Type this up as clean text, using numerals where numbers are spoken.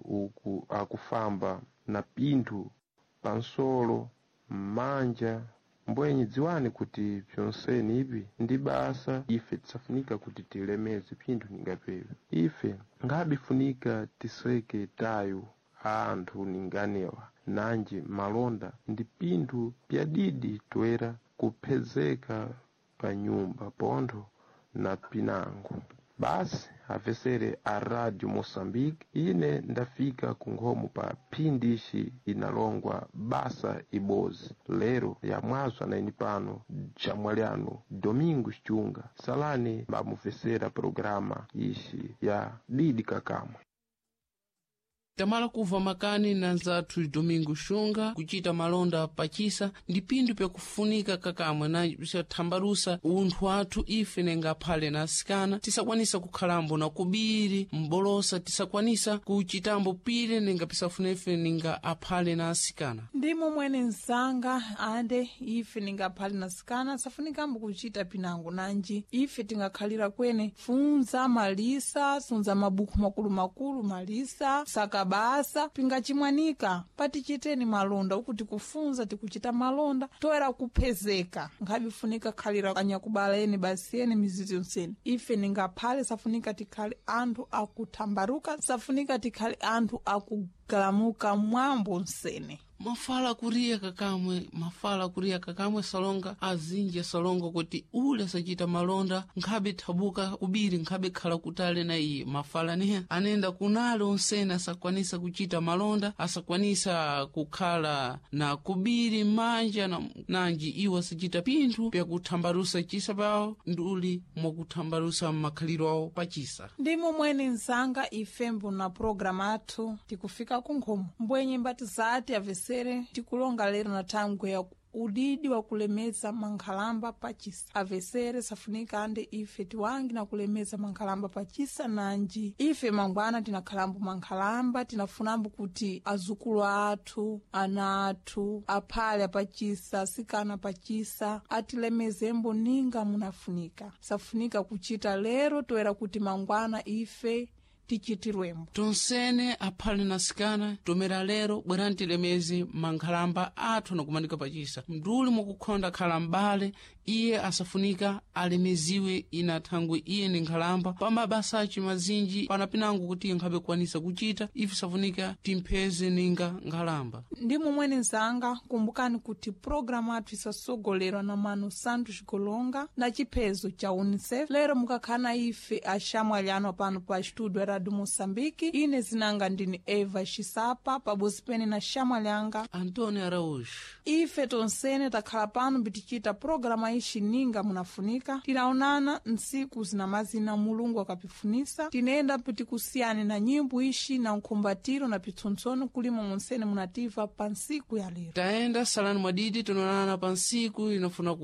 uku akufamba na pinthu pansolo m'manja, mbwenyi dziwani kuti pyonseni ipi ndi basa ife tisafunika kuti tilemeze pinthu ningapewe. Ife ngabifunika tiseke tayo a anthu ninganewa, nanji malonda ndi pinthu pyadidi toera kuphezeka pa nyumba pontho na pinango. Basi apesere a Radio Moçambique, ine ndafika ku nkhomo pa phindi ixi inalongwa basa ibozi lero yamwazwa na ine pano chamwaliano Domingos Chunga. Salani mbamupesera programa ixi ya Didi Kakamwe. Tamala kuva makani na nzathu Domingo Xunga kucita malonda pacisa ndi pinthu pyakufunika kakamwe na pisathambalusa unthu athu ife nenga aphale na asikana, tisakwanisa kukhalambo na kubiri mbolosa, tisakwanisa kucitambo pile nenga pisafuna ife ninga aphale na asikana. Ndimo mwene msanga ande ife ningaphale na sikana safunikambo kuchita pinango nanji ife tingakhalira kwene funza malisa, sunza mabuku makulumakulu malisa, saka basa pingachimwanika patichiteni malonda uku tikufunza tikuchita malonda toera kuphezeka nkhabifunika khalira anyakubala ene basi ene mizizi yonsene ife ningaphale safunika tikhale anthu akuthambaruka, safunika tikhale anthu akugalamuka mwambo nsene. Mafala kuriya kakamwe, mafala kuriya kakamwe salonga azinji asalonga kuti ule asacita malonda nkhabe thabuka kubiri nkhabe khala kutali na iye. Mafala neya anenda kunale onsene asakwanisa kucita malonda, asakwanisa kukhala na kubiri m'manja nanji iwo asacita pinthu pyakuthambalusa cisa pawo nduli mwakuthambalusa makhaliro awo pacisa. Ndimo mwene msanga ifembo na programu athu tikufika kunkhomo mbwenye mbati zati avesere tikulonga lero na thangwe ya udidi wa kulemeza mankhalamba pachisa. Avesere safunika ande ife tiwangi na kulemeza mankhalamba pachisa nanji ife mangwana tinakhalambo mankhalamba, tinafunambo kuti azukulu athu, ana athu aphale apachisa, asikana pachisa atilemezembo ninga munafunika. Safunika kuchita lero toera kuti mangwana ife tichitirwembo. Tonsene aphale na asikana tomera lero bwerani tilemeze mankhalamba athu anakumanika pachisa mduli mwakukhonda khala m'bale iye asafunika alemeziwe ina thangwe iye ni nkhalamba pa mabasa aci mazinji pana pinango kuti iye nkhabe kukwanisa kucita ife safunika timpheze ninga nkhalamba. Ndi momwene mzanga kumbukani kuti programu athu isasogolerwa na mano Santos Golonga na chiphezo cha UNICEF. Lero mukakhala na ife axamwali ano pano pa studio ya Radio Moçambique. Ine zinanga ndini Eva Xisapa pabozi pene na xamwali anga Antônio Araújo. Ife tonsene takhala pano pitichita programa ixi ninga munafunika. Tinaonana ntsiku zinamazina Mulungu akapifunisa. Tinenda pitikusiyane na nyimbo ixi na nkhumbatiro na pitsontsono kulimo monsene munativa pa ntsiku ya lero. Tayenda salani mwadidi, tinaonana pa ntsiku inafuna.